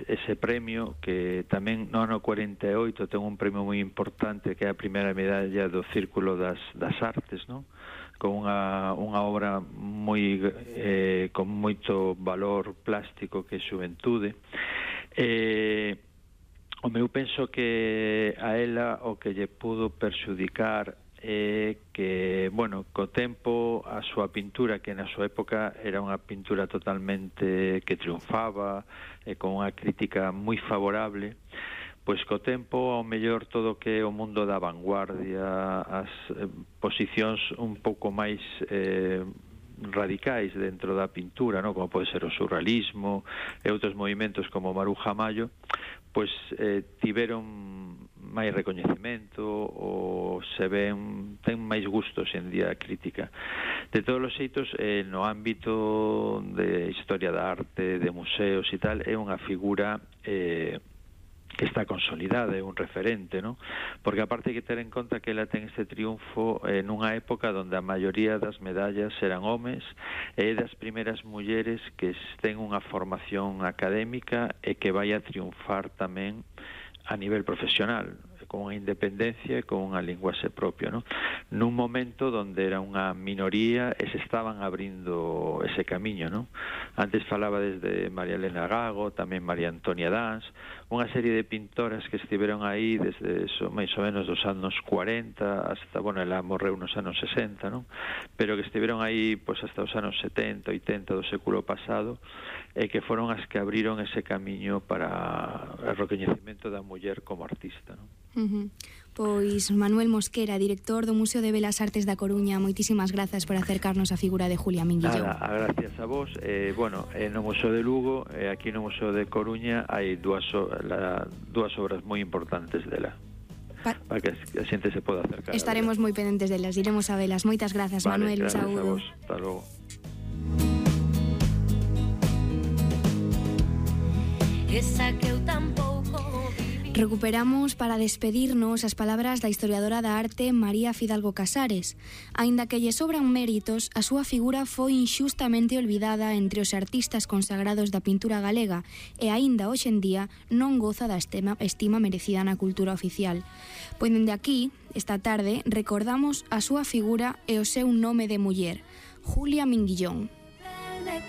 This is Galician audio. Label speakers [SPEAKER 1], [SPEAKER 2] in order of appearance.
[SPEAKER 1] ese premio, que tamén no ano 48 ten un premio moi importante, que é a primeira medalla do Círculo das Artes, non? Con unha obra moi con moito valor plástico, que é Xuventude. Eu penso que a ela o que lle pudo perxudicar é que, bueno, co tempo a súa pintura, que na súa época era unha pintura totalmente que triunfaba, con unha crítica moi favorable, pois co tempo, ao mellor, todo o que é o mundo da vanguardia, as posicións un pouco máis radicais dentro da pintura, no? Como pode ser o surrealismo e outros movimentos como Maruja Mayo, pois tiveron máis recoñecemento, ou ten máis gusto en día crítica. De todos os xeitos, no ámbito de historia da arte, de museos e tal, é unha figura que está consolidada, é un referente, ¿no? Porque aparte hai que ter en conta que ela ten este triunfo nunha época onde a maioría das medallas eran homes, e é das primeiras mulleres que ten unha formación académica e que vai a triunfar tamén a nivel profesional, con unha independencia e con unha linguaxe propia, ¿no? Nun momento onde era unha minoría e se estaban abrindo ese camiño, ¿no? Antes falaba desde María Elena Gago, tamén María Antonia Dans, unha serie de pintoras que estiveron aí desde máis ou menos dos anos 40 hasta, bueno, ela morreu nos anos 60, ¿no? Pero que estiveron aí pois hasta os anos 70, 80 do século pasado, e que foron as que abriron ese camiño para o recoñecemento da muller como artista, ¿no?
[SPEAKER 2] Pois Manuel Mosquera, director do Museo de Belas Artes da Coruña, moitísimas grazas por acercarnos a figura de Julia Minguillón.
[SPEAKER 1] Gracias a vos. Bueno, no Museo de Lugo, aquí no Museo de Coruña, hai dúas obras moi importantes dela, para que a xente se poda acercar.
[SPEAKER 2] Estaremos moi pendentes delas, iremos a velas. Moitas grazas, Manuel.
[SPEAKER 1] Gracias
[SPEAKER 2] saúdo.
[SPEAKER 1] A vos. Hasta logo.
[SPEAKER 3] Esa que eu tampouco.
[SPEAKER 2] Recuperamos para despedirnos as palabras da historiadora da arte María Fidalgo Casares. Aínda que lle sobran méritos, a súa figura foi inxustamente olvidada entre os artistas consagrados da pintura galega e aínda hoxe en día non goza da estima merecida na cultura oficial. Pois dende aquí, esta tarde, recordamos a súa figura e o seu nome de muller, Julia Minguillón.